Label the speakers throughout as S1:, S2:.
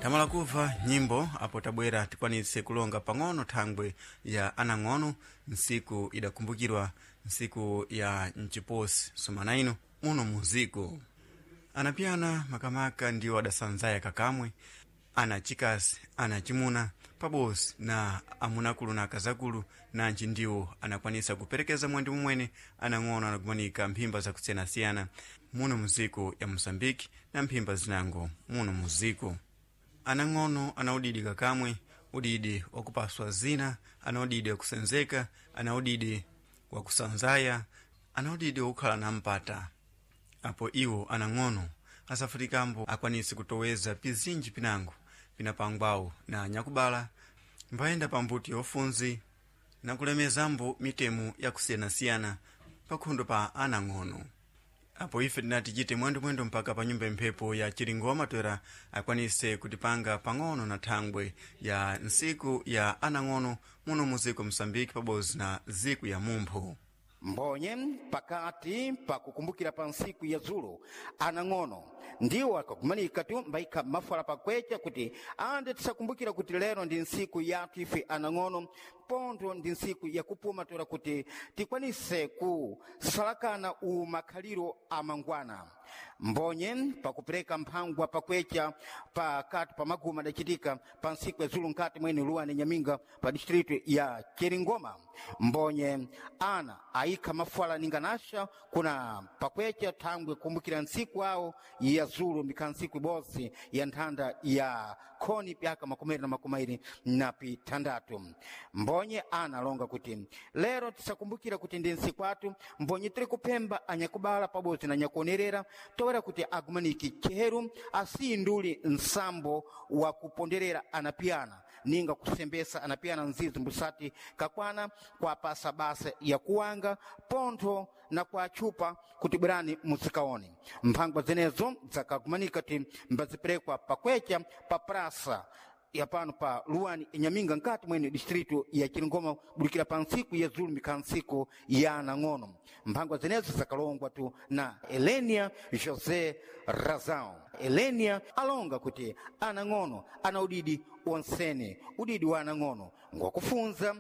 S1: Tamala kubva nyimbo apo tabwera tikwanitse kulonga pang'ono thangwe ya anang'ono ntsiku idakumbukirwa ntsiku ya mchiposi sumana ino muno muziku anapiyana makamaka ndiwo adasanzaya kakamwe ana chikasi ana chimuna pabosi na amunakulu na akazakulu nanji ndiwo anakwanisa kuperekeza mwandi mumwene anang'ono anakumanika mphimba zakusiyanasiyana muno muziku ya Mosambiki na mphimba zinango muno muziku. Anang'ono ana udidi kakamwe, udidi wakupaswa zina, ana udidi wakusenzeka, ana udidi wakusanzaya, ana udidi wakukhala na mpata. Apo iwo anang'ono asafurikambo akwanise kutoweza pizinji pinango pinapangwawo na anyakubala mbayenda pambuti yofunzi na kulemezambo mitemo yakusiyanasiyana pakhondo pa anang'ono. Apo ife tinati chite mwendomwendo mpaka pa nyumba mphepo ya Chiringoma toera akwanise kutipanga pang'ono na thangwe ya ntsiku ya anang'ono muno muziko Mosambiki pabodzi na ziku ya mumpho.
S2: Mbonye pakati pakukumbukira pa ntsiku ya dzulo anang'ono ndiwo akakumanika tu mbayikha mafala pakwecha kuti ande tisakumbukira kuti lero ndi ntsiku yathu ife anang'ono, pontho ndi ntsiku yakupuma toera kuti tikwanise kusalakana u makhaliro amangwana. Mbonye pakupereka mphangwa pakwecha pakati pa maguma adachitika pa ntsiku ya dzulo nkati mwene Luwani Nyaminga pa distritu ya Chiringoma. Mbonye ana ayikha mafala ninganasha kuna pakwecha thangwe kumbukira ntsiku awo ya dzulo ndikhala ntsiku ibodzi ya nthanda ya khoni pyaka 2026. Mbonye ana alonga kuti lero tisakumbukira kuti ndi ntsiku athu, mbonye tiri kuphemba anyakubala pabodzi na anyakuonerera toera kuti agumaniki cheru asiyinduli nsambo wa kuponderera anapiyana ninga kusembesa anapiyana nzizi mbusati kakwana kwapasa basa yakuwanga pontho na kwatchupa kuti bwerani muzikaone. Mphangwa zenezo zakagumanika ti mbaziperekwa pakwecha pa prasa ya pano pa Luwani Inyaminga nkati mwene distritu ya Chiringoma budikira pa ntsiku ya dzulo mikhala ntsiku ya anang'ono. Mphangwa zenezo zakalongwa tu na Elenia José Razão. Elenia alonga kuti anang'ono ana udidi onsene, udidi wa anang'ono ngwakufunza,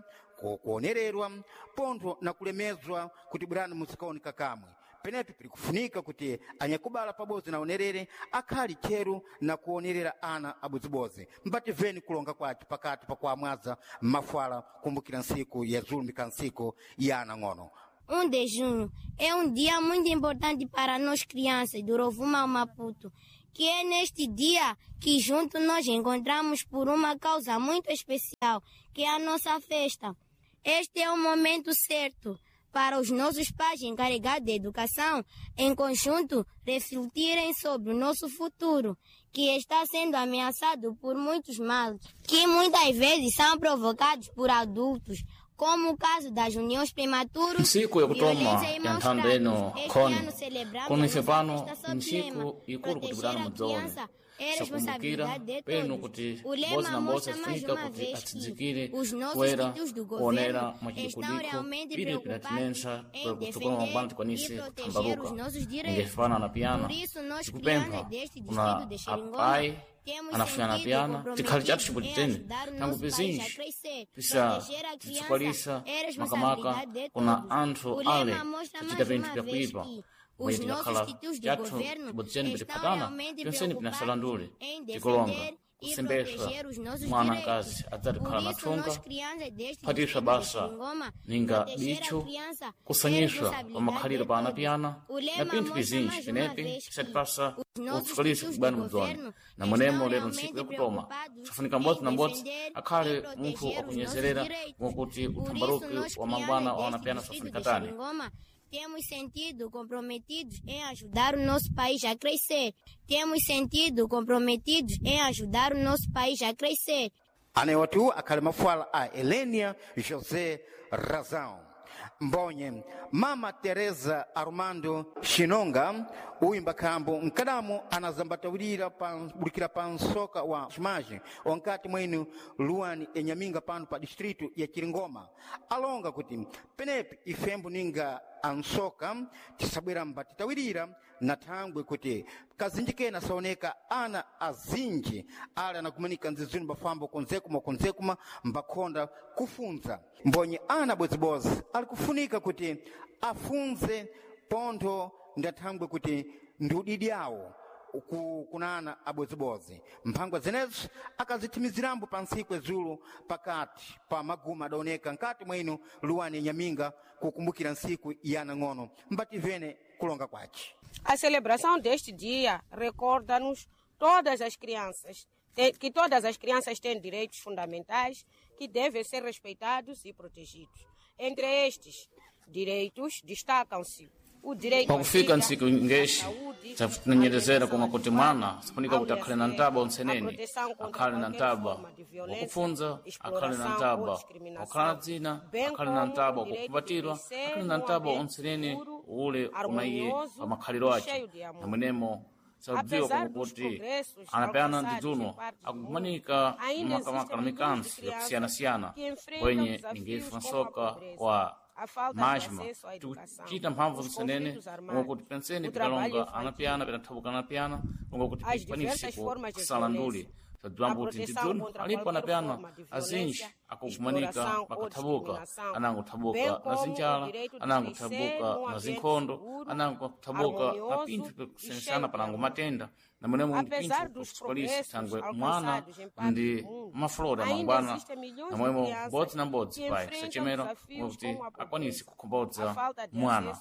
S2: kuonererwa pontho na kulemezwa kuti bwerani muzikaoneka kamwe. Penepi pili kufunika kuti anyakubala pabodzi na onerere akhali tcheru na kuonerera ana abodzibodzi. Mbativeni kulonga kwace pakati pakuamwaza mafala kumbukira ntsiku ya dzulo mikhala ntsiku ya anang'ono.
S3: 1 de junho é um dia muito importante para nós crianças do Rovuma ao Maputo, que é neste dia que juntos nós encontramos por uma causa muito especial, que é a nossa festa. Este é o momento certo para os nossos pais encarregados de educação, em conjunto, refletirem sobre o nosso futuro, que está sendo ameaçado por muitos males, que muitas vezes são provocados por adultos, como o caso das uniões prematuras,
S4: Ntsiku yakutoma
S3: violência e
S4: ya
S3: maus
S4: nthanda
S3: tratos.
S4: ino
S3: Este
S4: khoni
S3: ano celebramos
S4: kuno
S3: a
S4: ife
S3: nossa
S4: pano
S3: festa sob
S4: ntsiku
S3: lema
S4: ikulu kuti
S3: proteger
S4: bwerani
S3: a
S4: mudzaone
S3: criança é
S4: sakumbukira
S3: responsabilidade de
S4: penu
S3: todos.
S4: kuti
S3: O
S4: bodzi
S3: lema
S4: na mbodzi
S3: mostra mais
S4: afunika
S3: uma
S4: kuti
S3: vez que
S4: atsidzikire
S3: os nossos
S4: kuera
S3: títulos do
S4: kuonera
S3: governo estão
S4: mwachidikudiko
S3: realmente
S4: pili
S3: preocupados
S4: pinatinensa
S3: em
S4: kutsogolo mangwana
S3: defender e
S4: tikwanise
S3: proteger os
S4: kuthambaluka
S3: nossos direitos.
S4: ingefana na piyana
S3: Por isso, nós
S4: tikupempha
S3: crianças deste
S4: kuna
S3: distrito de Xeringoma
S4: apai
S3: temos
S4: anafunyana
S3: sentido
S4: piyana tikhali chathu
S3: comprometidos em
S4: chibodzi tene
S3: ajudar o
S4: tangu
S3: nosso país a
S4: pizinji
S3: crescer.
S4: pisa
S3: Proteger a criança
S4: titsukvalisa
S3: é
S4: makamaka
S3: responsabilidade de
S4: kuna
S3: todos.
S4: anthu
S3: O
S4: ale
S3: lema mostra
S4: tichita
S3: mais
S4: pinthu
S3: uma vez
S4: pyakuipa
S3: que
S4: mwenye
S3: os
S4: tikakhala
S3: nossos títulos de
S4: chathu
S3: governo
S4: chibodzi chene
S3: estão
S4: pitiphatana
S3: realmente
S4: pyonsene
S3: preocupados
S4: pinasalandule
S3: em
S4: tikulonga
S3: defender e
S4: kusembeswa
S3: proteger os nossos
S4: mwana
S3: direitos.
S4: mkazi adzati
S3: Por
S4: kukhala na
S3: isso,
S4: thunga
S3: nós crianças deste
S4: kuphatiswa
S3: distrito de
S4: basa
S3: Xeringoma,
S4: ninga
S3: proteger a
S4: bitcho
S3: criança é
S4: kusanyiswa pa
S3: responsabilidade
S4: makhaliro
S3: de
S4: pa
S3: todos.
S4: anapiyana
S3: O
S4: na
S3: lema
S4: pinthu
S3: mostra
S4: pizinji
S3: mais uma
S4: pinepi
S3: vez que
S4: pisatipasa
S3: os nossos
S4: utsukalisa
S3: títulos
S4: kubwani
S3: do
S4: mudzoni
S3: governo
S4: na mwenemo
S3: estão
S4: lero ntsiku
S3: realmente
S4: yakutoma
S3: preocupados
S4: safunika mbodzi
S3: em
S4: na mbodzi
S3: defender e
S4: akhale munthu
S3: proteger os nossos
S4: wakunyezerera
S3: direitos.
S4: mwakuti
S3: Por isso,
S4: uthambaluki
S3: nós
S4: wa mangwana
S3: crianças
S4: wa
S3: deste
S4: anapiyana
S3: distrito
S4: safunika
S3: de
S4: tani.
S3: Xeringoma temos sentido comprometidos em ajudar o nosso país a crescer. Temos sentido comprometidos em ajudar o nosso país a crescer.
S2: Anewatu akhali mafuala a Elenia José Razão. Mbonye Mama Teresa Armando Shinonga uyu mbakhambo mkadamu anazambatawirira budikira pa nsoka wa chimagem onkati mwenu Luwani enyaminga pano pa distritu ya Chiringoma alonga kuti penepi ifembo ninga ansoka tisabwera mbatitawirira Na thangwe kuti kazinji kena saoneka ana azinji ali anakumanika nzizini mbafamba kunzekuma kunzekuma mbakhonda kufunza mbonye ana bodzibozi ali kufunika kuti afunze pontho ndathangwe kuti ndi udidi awo kunana abodzibodzi mphangwa zenezo akazithimizirambo pa ntsiku zulu pakati pa maguma adaoneka nkati mwa ino luwani nyaminga kukumbukira ntsiku ya anang'ono mbativene kulonga kwace.
S5: A celebração deste dia recorda-nos todas as crianças que todas as crianças têm direitos fundamentais que devem ser respeitados e protegidos. Entre estes direitos destacam-se
S4: Pakufika ntsiku ngeshi tafutinanyerezera koma kuti mwana sifunika kuti akhale na ntaba ontseneni, akhale na ntaba wakufunza, akhale na ntaba wakhala na dzina, akhale na ntaba wakukumbatirwa, akhale na ntaba ontseneni ule unaiye pa makhaliro ace namwenemo sakudziwa koma kuti anapyana ndidzuno akukumanika makamaka na mikansi yakusiyanasiyana kwenye ningefa nsoka wa majma tikucita mphamvu zenene kuti penseni pikalonga anapyana pinathabuka anapyana longa kuti pikwanise kusala nduli sadziwambo kuti ndidzuno alipo anapyana azinji akukumanika pakathabuka, anango thabuka na zinjala, anango thabuka na zinkhondo, anango thabuka na pinthu pikusiyanasiyana panango matenda namwenemo ndi pinthu kusikwalisa thangwe mwana ndi maflora mangwana namwemo mbodzi na mbodzi pai sachemera kuti akwanise kukhombodza mwana.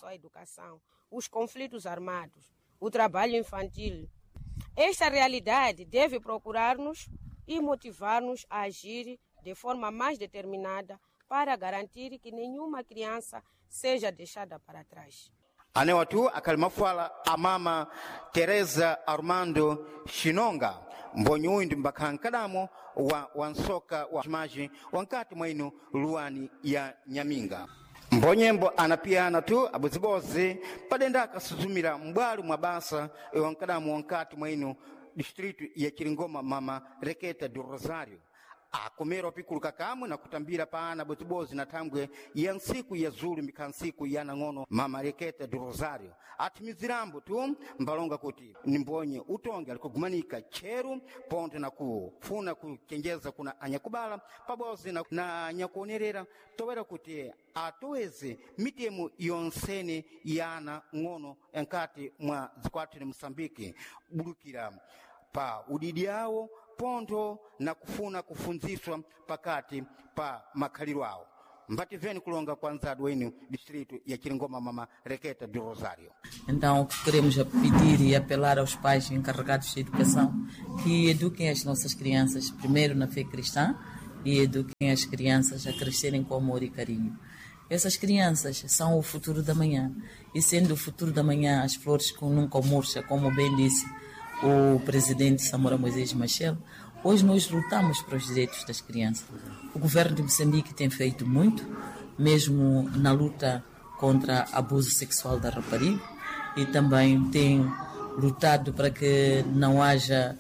S5: Os conflitos armados, o trabalho infantil. Esta realidade deve procurar-nos e motivar-nos a agir de forma mais determinada para garantir que nenhuma criança seja deixada para trás.
S2: Anewatu akhali mafala amama Teresa Armando Shinonga mbonyi uyu ndi mbakhala mkadamo wa wansoka wa chimaji wankati mwa ino luwani ya Nyaminga. Mbonyembo anapiyana tu abodzibodzi padenda akasuzumira m'bwalo mwa basa wankadamu wankati mwa ino distritu ya Chiringoma mama Reketa do Rosario akomera opikuluka kamwe na kutambira pa ana bodzibodzi na thangwe ya ntsiku ya zulu mikhala ntsiku ya nang'ono mama Reketa do Rosario athimizirambo tu mbalonga kuti nimbonye utonge alikugumanika tcheru pontho na kufuna kuchenjeza kuna anyakubala pabodzi na anyakuonerera towera kuti atoweze mitemo yonsene ya ana ng'ono enkati mwa zikwathu ni Moçambique bulukira pa udidi awo pontho na kufuna kufunziswa pakati pa makhaliro awo. Mbativeni kulonga kwa nzadu wenu distrito ya Chiringoma mama Reketa do Rosario.
S6: Então, o que queremos é pedir e apelar aos pais encarregados de educação que eduquem as nossas crianças primeiro na fé cristã e eduquem as crianças a crescerem com amor e carinho. Essas crianças são o futuro da manhã e, sendo o futuro da manhã as flores que nunca murcha, como bem disse o presidente Samora Moisés Machel, hoje nós lutamos para os direitos das crianças. O governo de Moçambique tem feito muito, mesmo na luta contra abuso sexual da rapariga, e também tem lutado para que não haja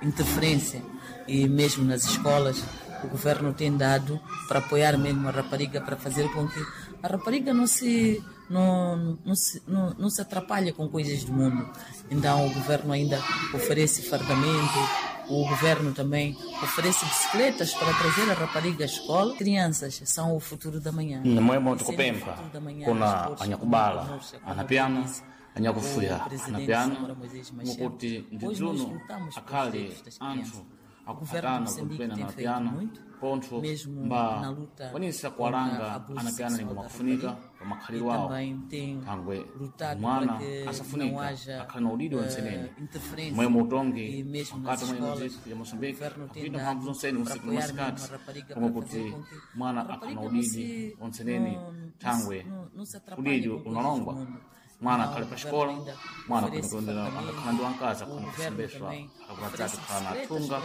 S6: interferência, e mesmo nas escolas o governo tem dado para apoiar mesmo a rapariga, para fazer com que a rapariga não se atrapalhe com coisas do mundo. Então o governo ainda oferece fardamento, o governo também oferece bicicletas para trazer a rapariga à escola. Crianças são o futuro da manhã.
S4: Namwemo tikupempha kuna anyakubala anapyana anyakufuya anapyana mukuti ndidzuno akhale anthu akuphatana kupena na piano pontho mba kwanisa kuwalanga anapyana ningo makufunika pa makhaliro awo thangwe mwana asafunika akhale na udidi wensenene mwemo utongi mkati mwa ino ya Moçambique akuita mphamvu zonsene usiku na masikati koma kuti mwana akhale na udidi onsenene thangwe udidi unalongwa mwana akhale pa xikola, mwana akhala akakhala ndi wankazi akhona kusembeswa akapatatu khala na athunga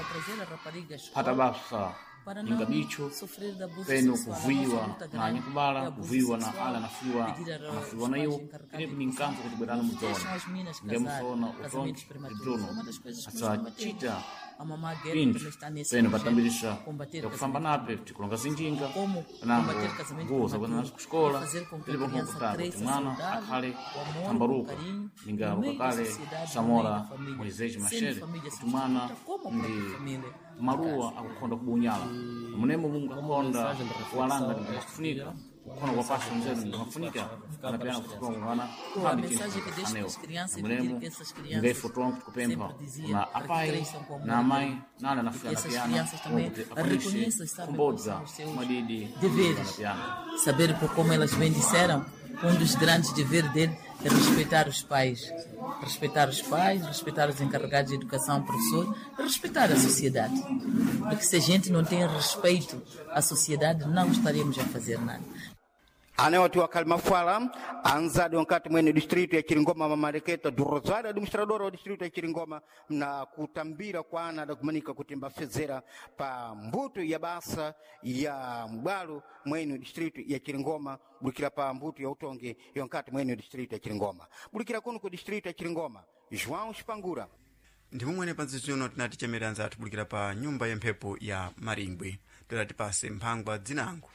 S4: phata basa inga bicho peno kuvuiwa na anyakubala kuvuiwa na ala anafuiwa anafuiwa na iwo inepo ni nkanzo kuti bwerani mudzona ndiye musona utongi tidzuno asachita
S6: A mamá Guerra
S4: pinthu
S6: também está nesse
S4: peno
S6: projeto,
S4: patambirisha
S6: combater
S4: yakufamba
S6: casamento
S4: nape tikulonga zinjinga
S6: Como
S4: panango
S6: combater casamento
S4: nguwo zakuenda
S6: prematuro
S4: nazo kuxikola
S6: é fazer com que a
S4: tilipo
S6: criança
S4: nkukuta kuti
S6: cresça
S4: mwana
S6: saudável,
S4: akhale
S6: com amor, com
S4: tambaruka
S6: carinho, no
S4: ningaruka
S6: meio da
S4: kale
S6: sociedade, no meio
S4: samora
S6: da família.
S4: Moisés
S6: Sendo
S4: Machel
S6: família
S4: kuti mwana
S6: substituta, como a própria
S4: ndi
S6: família de
S4: maluwa
S6: casa.
S4: akukhonda kubunyala munemo mungu
S7: Como
S4: akhonda
S7: mensagem de
S4: kuwalanga
S7: reflexão, este
S4: ndingakufunika
S7: dia,
S4: kukhona kuwapasa nzeru ndingakufunika
S7: ficar para
S4: anapiyana
S7: as crianças.
S4: kutongana
S6: Pô, a
S4: phambi tinthu
S6: mensagem que deixo para
S4: anewo
S6: as crianças e pedir
S4: mulemo
S6: que essas crianças
S4: ngaife tonke tikupempha
S6: sempre dizia
S4: na
S6: para que
S4: apai
S6: cresçam com amor
S4: na
S6: e
S4: amai
S6: carinho.
S4: nala
S6: E que
S4: anafika
S6: essas
S4: anapiyana
S6: crianças também
S4: kuti akwanise
S6: reconheçam e sabem quais
S4: kumbodza
S6: são os seus
S4: madidi
S6: deveres.
S4: anapiyana.
S6: Saber, por como elas bem disseram, um dos grandes deveres dele é respeitar os pais. Respeitar os pais, respeitar os encarregados de educação, professor, respeitar a sociedade. Porque se a gente não tem respeito à sociedade, não estaremos a fazer nada.
S2: Anewati wakali mafuala anzadi wankati mwene distritu ya Chiringoma mamareketa do Rosário administradora wa distritu ya Chiringoma na kutambira kwa ana adakumanika kuti mbafezera pa mbuto ya basa ya mbwalo mwene distritu ya Chiringoma bulikira pa mbuto ya utonge yonkati mwene distritu ya Chiringoma bulikira kuno ku distritu ya Chiringoma João Spangura.
S1: Ndimumwene panzizino tinati chemera anzathu bulikira pa nyumba ya mphepo ya Maringwe tidatipase mphangwa dzinango.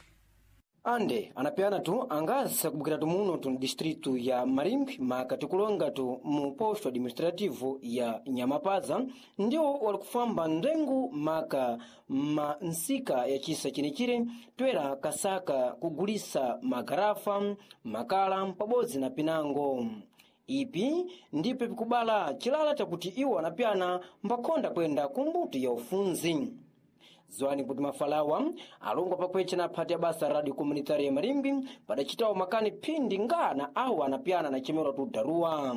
S8: Ande anapeana tu angasa kubukira tumuno tu distritu ya Marimbi maka tikulonga tu mu posto administrativo ya Nyamapaza ndio walikufamba ndengu maka ma nsika ya chisa chinechire twera kasaka kugulisa magarafa makala pabodzi na pinango. Ipi ndipo pikubala chilala chakuti iwo anapyana mbakhonda kwenda kumbuto ya ufunzi. Zwani kuti mafalawa alongwa pakwecha na phati ya basa radio komunitari ya Marimbi padachitawo makani phindi ngana awo anapyana na chemerwa tu daruwa.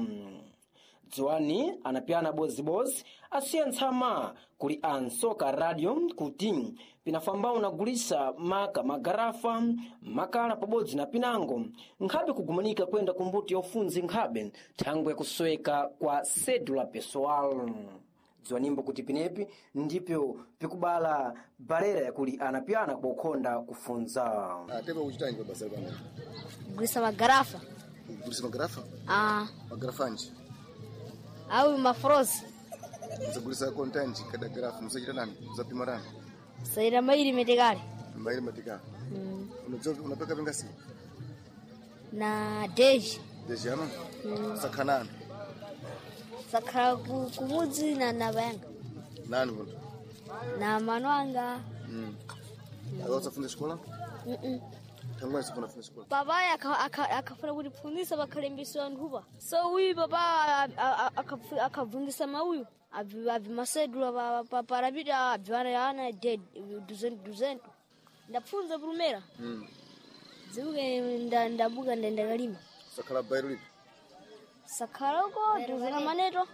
S8: Dziwani anapyana bozibozi asiya ntsama kuli ansoka radio kuti pinafambawo nagulisa maka magarafa makala pabodzi na pinango nkhabe kugumanika kwenda kumbuto ya ufunzi nkhabe thangwe kusweka kwa cedula pessoal. Dziwanimbo kuti pinepi ndipyo pikubala barera yakuli anapyana kukhonda kufunza.
S9: Atepa kuchitanji pabasa pano?
S3: Kugulisa magarafa.
S9: Kugulisa magarafa?
S3: Ah,
S9: Magarafa anji?
S3: au mafrozi.
S9: Musagulisa kontanji kada garafa musachita nani? Musapima nani?
S3: Saira maili metekale.
S9: Mbaili matika. Unajua unapeka vingasi?
S3: Na deji.
S9: Deji ano? Sakhanani.
S3: Sakhala kumudzi na nabayanga.
S9: Nani kuntu?
S3: Na manwanga.
S9: Akawa usafunza shikola? Tangu wana sifuna shikola.
S3: Baba akafuna kutipfunzisa pakhalembeswa anthupa. So uyu baba akabvungisa mauyu abvimasedula parapita abviwana ana duzento duzento. Ndapfunza pulumera. Dziuke ndabuka ndakalima.
S9: Sakhala bairu lipi?
S3: Sakhalako duzena maneto.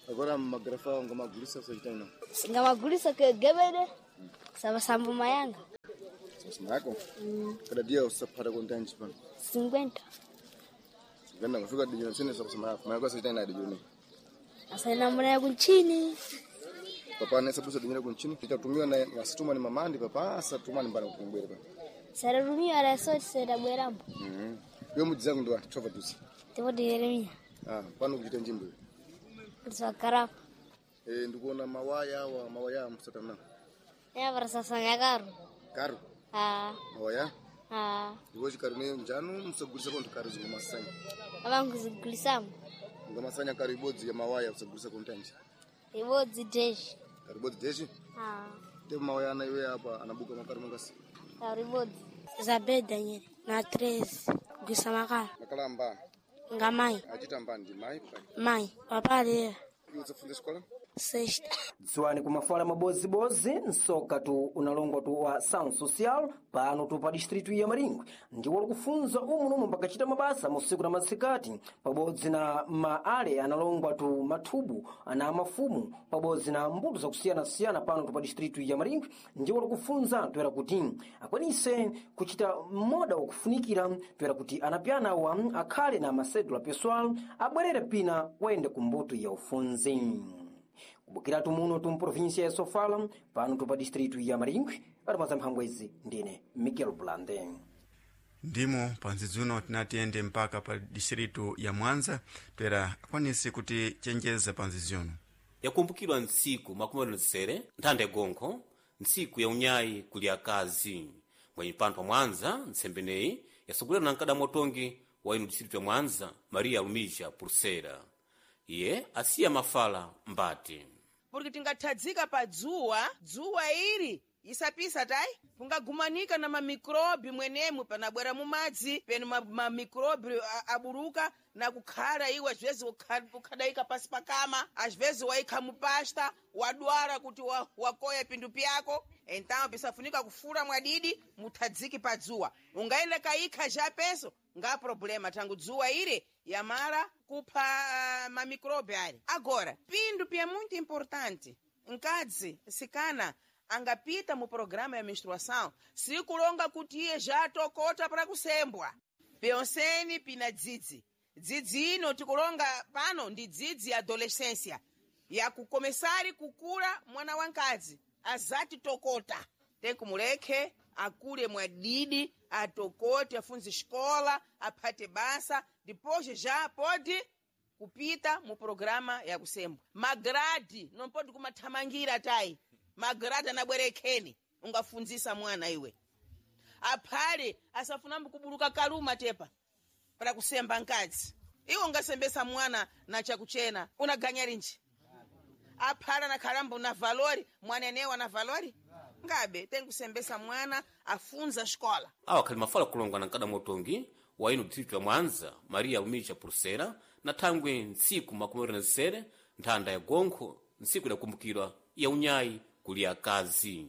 S9: Agora magarafa ngamagulisa usachita nani?
S3: Ngamagulisa gebede. Sabasambu mayanga.
S9: Sasa yako? Kada dia usaphata kontanji pano.
S3: 50.
S9: Ganda ngafika dijoni sine sakusema yako. Mayako usachita nani dijoni?
S3: Asaina mbona ya kunchini.
S9: Papa anaweza dinyera kunchini. Itatumiwa na wasituma ni mamandi papa asatuma ni mbana kutumbwere papa.
S3: Sararumiwa rasoti serabwerambo.
S9: Yo mudzangu ndo atova dusi.
S3: Tipoti Yeremia.
S9: Ah, pano kuchita njimbo.
S3: Kulisa karafa.
S9: Eh, ndikuona mawaya awa mawaya musatana.
S3: Ya varasasanya karu.
S9: Karu,
S3: Ah,
S9: mawaya.
S3: ah.
S9: Ndiko chikaru ne njanu musagulisa kontu karu zingomasanya.
S3: Avanguzigulisamo.
S9: Ngomasanya karu ibodzi ya mawaya usagulisa kontanji.
S3: Ibodzi deshi.
S9: Karu ibodzi deshi.
S3: Ah,
S9: Te mawaya ana iwe apa anabuka makaru mangasi.
S3: karu ibodzi. Isabel Daniel na 13 kugulisa makala.
S9: Makala amba
S3: Nga mai.
S9: achita mbani ndi mai pa.
S3: Mai. Papa alera.
S9: Iwe usafunza shikola?
S3: Sexta.
S8: Dziwani kumafala mabozibozi nsoka tu unalongwa tu wa Sound Social pano tu pa distritu ya Maringwe ndiwo likufunza umu nomwe pakachita mabasa musiku na masikati pabodzi na maale analongwa tu mathubu na mafumu pabodzi na mbuto zakusiyanasiyana pano tu pa distritu ya Maringwe ndiwo likufunza toera kuti akwanise kuchita moda wakufunikira toera kuti anapyana awa akhale na masedula pessoal abwerere pina wayende ku mbuto ya ufunzi. Kubukiratu muno tu mprovinsia ya Sofala pano tu pa distritu ya Maringwe atimaza mphangwezi ndine Miguel Blande.
S1: Ndimo panzidzuno tinatiyende mpaka pa distritu ya Mwanza toera akwanise kuti chenjeza panzidzuno.
S7: Yakumbukidwa ntsiku 27 nthanda yagonkho, ntsiku ya unyayi kuli akazi. Mwenye pano pa Mwanza, ntsembeneyi yasogolera na mkadamu watongi wa ino distritu ya Mwanza, Maria Lumija Pulsera. Iye asiya mafala mbati.
S10: Porque tingathadzika pa dzuwa, dzuwa ili isapisa tayi pungagumanika na mamikrobi mwenemu panabwera mumadzi penu mamikrobi aburuka na kukhala iwe azivezi kukhadayika pasi pakama, azivezi wayikha mupasta wadwara kuti wakoya pindu pyako. Então pisafunika kufura mwadidi muthadziki pa dzuwa, ungayenda kayikha japenso nga problema tangu dzuwa ile yamara kupha mamikrobi ali. Agora pindu pya muito importante, mkadzi sikana angapita mu programa ya menstruação sikulonga kuti iye jatokota para kusembwa. Penseni pina dzidzi, dzidzi ino tikulonga pano ndi dzidzi ya adolescência yakukomesari kukula mwana wankadzi azati tokota, tenkumulekhe akule mwadidi atokote afunze xikola aphate basa depois já pode kupita mu programa ya kusembwa. Magradi não pode kumathamangira tayi, magradi anabwerekheni ungafunzisa mwana iwe aphale asafunambo kubuluka kaluma tepa para kusemba nkadzi. Iwe ungasembesa mwana na chakuchena unaganya linji? Aphala na khalambo na valori mwanenewa na valori ngabe tenkusembesa mwana afunza xikola.
S7: Awa akhali mafala kulongwa na mkadamu watongi wa ino distritu ya Mwanza, Maria Lumija Pulsera, na thangwe ntsiku 27 nthanda ya gonkho, ntsiku idakumbukirwa ya unyayi kuli akazi.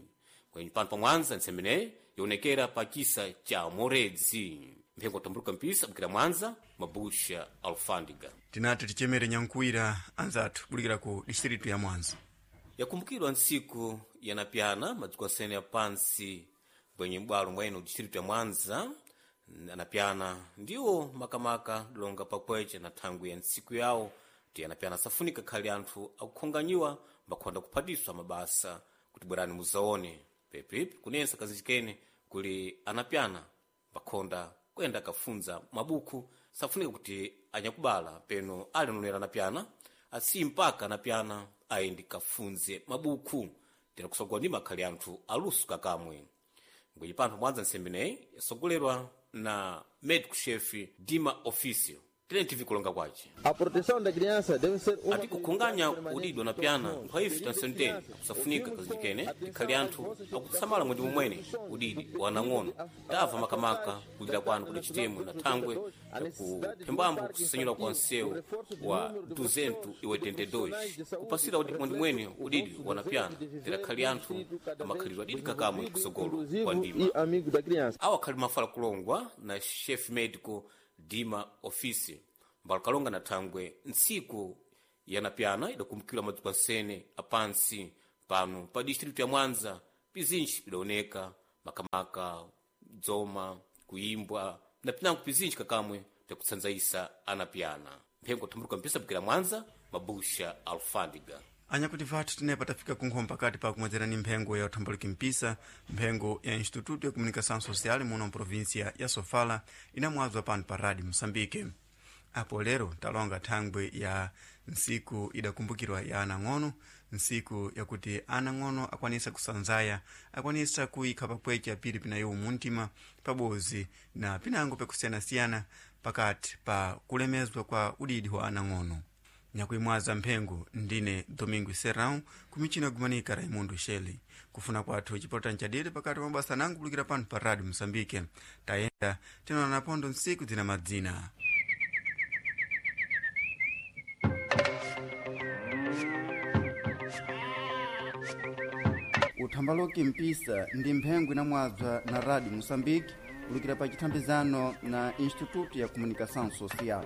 S7: Kwenye pano pa Mwanza ntsembeneyi yaonekera pa chisa cha Moredzi. Mphengo tambuluka mpisa bukira Mwanza, Mabusha Alfandiga.
S1: Tinati tichemere nyankuwira anzathu kulikira ku distritu ya Mwanza.
S7: Yakumbukirwa ntsiku yanapyana madziko asene ya pansi bwenye m'bwalo mwa ino distritu ya Mwanza. Anapyana ndiwo makamaka longa pakweche na thangwi ya ntsiku yawo ti anapyana safunika khali anthu akukhonganyiwa mbakhonda kuphatiswa mabasa kuti bwerani muzaone pepipi kunensa kazichikene kuli anapyana mbakhonda kuyenda akafunza mabuku safunika kuti anyakubala peno ali nonera anapyana asi mpaka anapyana ayendi kafunze mabuku tera kusogola ndi makhali anthu aluso kakamwe. Ngwenye panthu Mwanza ntsembeneyi yasogolerwa na medico chefe Dima Ofício. Tene kulonga kwace
S11: A proteção da criança deve ser uma
S7: ati kukhunganya udidwa na pyana nkhwaife tansenteni kusafunika kazikene tikhali anthu akutsamala mwedi momwene udidi wa anang'ono tamva makamaka kulira kwanu kuti chitemwe na thangwe kuphembambo kusenyula kwa nsewu wa 282 kupasira udi mwedi mwene udidi wa anapyana tirakhali anthu amakhalidwe adidi kakamwe kusogolo kwa ndima
S11: e amigo da criança.
S7: Awa akhali mafala kulongwa na chef medico Dima Office mbalikalonga na thangwe ntsiku yanapyana idakumbukirwa madzuko ansene apansi pano pa distritu ya Mwanza pizinji pidaoneka makamaka dzoma kuimbwa na pinango pizinji kakamwe pyakutsandzaisa anapyana. Mphengo thumbuluka mpisa bukira Mwanza, Mabusha Alfandiga.
S1: Anyakuti vathu tinepa tafika kunkhoma pakati pa kumwedzerani mphengo ya uthambaluki mpisa, mphengo ya Instituto ya Comunicação Social muno mprovinsia ya Sofala inamwadzwa pano pa Rádio Moçambique. Apo lero talonga thangwe ya ntsiku idakumbukirwa ya anang'ono, ntsiku yakuti anang'ono akwanisa kusanzaya, akwanisa kuyikha pakwecha pili pinayo muntima pabozi na pinango pakusiyanasiyana pakati pa kulemezwa kwa udidi wa anang'ono. Nyakuimwaza mphengo ndine Domingo Serrão kumichina gumanika Raimundo Shelley. Kufuna kwathu chipota nchadiri pakati pa mabasa nangu kulukira pano pa Rádio Moçambique. Tayenda tinaona pondo ntsiku zina madzina. Uthambaloki mpisa ndi mphengo inamwadzwa na Rádio Moçambique kulukira pa chithambizano na Instituto ya Comunicação Social.